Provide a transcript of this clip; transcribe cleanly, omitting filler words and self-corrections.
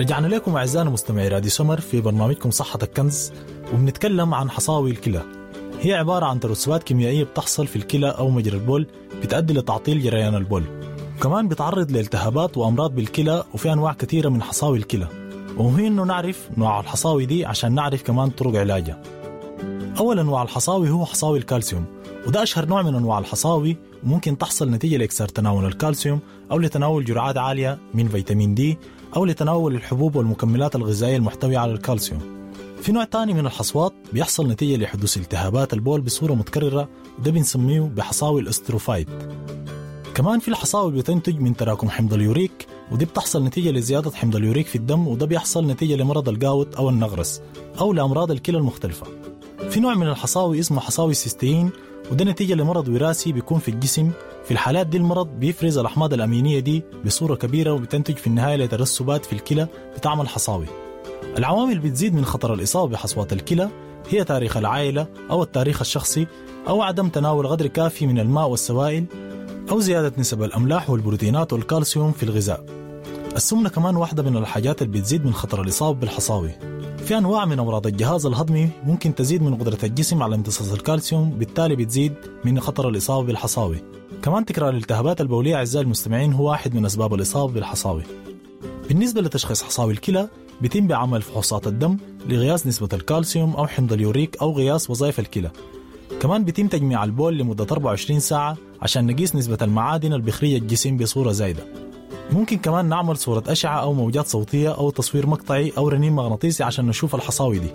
رجعنا لكم أعزائنا مستمعي راديو سمر في برنامجكم صحتك كنز، وبنتكلم عن حصاوي الكلى. هي عبارة عن ترسبات كيميائية بتحصل في الكلى أو مجرى البول، بتؤدي لتعطيل جريان البول. كمان بتعرض لالتهابات وأمراض بالكلى، وفي أنواع كثيرة من حصاوي الكلى، ومهم إنه نعرف نوع الحصاوي دي عشان نعرف كمان طرق علاجها. أول أنواع الحصاوي هو حصاوي الكالسيوم، وده أشهر نوع من أنواع الحصاوي، وممكن تحصل نتيجة لإكثار تناول الكالسيوم أو لتناول جرعات عالية من فيتامين دي أو لتناول الحبوب والمكملات الغذائية المحتوية على الكالسيوم. في نوع تاني من الحصوات بيحصل نتيجة لحدوث التهابات البول بصورة متكررة، وده بنسميه بحصاوي الاستروفايت. كمان في الحصاوي بتنتج من تراكم حمض اليوريك، ودي بتحصل نتيجة لزيادة حمض اليوريك في الدم، وده بيحصل نتيجة لمرض الجاوت أو النغرس أو لأمراض الكلى المختلفة. في نوع من الحصاوي اسمه حصاوي السيستين، وده نتيجة لمرض وراثي بيكون في الجسم. في الحالات دي المرض بيفرز الأحماض الأمينية دي بصورة كبيرة، وبتنتج في النهاية لترسبات في الكلى بتعمل حصاوي. العوامل اللي بتزيد من خطر الإصابة بحصوات الكلى هي تاريخ العائلة أو التاريخ الشخصي، أو عدم تناول قدر كافي من الماء والسوائل، أو زيادة نسب الأملاح والبروتينات والكالسيوم في الغذاء. السمنة كمان واحدة من الحاجات اللي بتزيد من خطر الإصابة بالحصاوي. في أنواع من أمراض الجهاز الهضمي ممكن تزيد من قدرة الجسم على امتصاص الكالسيوم، بالتالي بتزيد من خطر الإصابة بالحصاوي. كمان تكرار الالتهابات البولية أعزائي المستمعين هو واحد من أسباب الإصابة بالحصاوي. بالنسبة لتشخيص حصاوي الكلى بيتم بعمل فحوصات الدم لقياس نسبة الكالسيوم أو حمض اليوريك أو قياس وظائف الكلى. كمان بيتم تجميع البول لمدة 24 ساعة عشان نقيس نسبة المعادن اللي بيخرجها الجسم بصورة زايدة. ممكن كمان نعمل صورة أشعة أو موجات صوتية أو تصوير مقطعي أو رنين مغناطيسي عشان نشوف الحصاوي دي.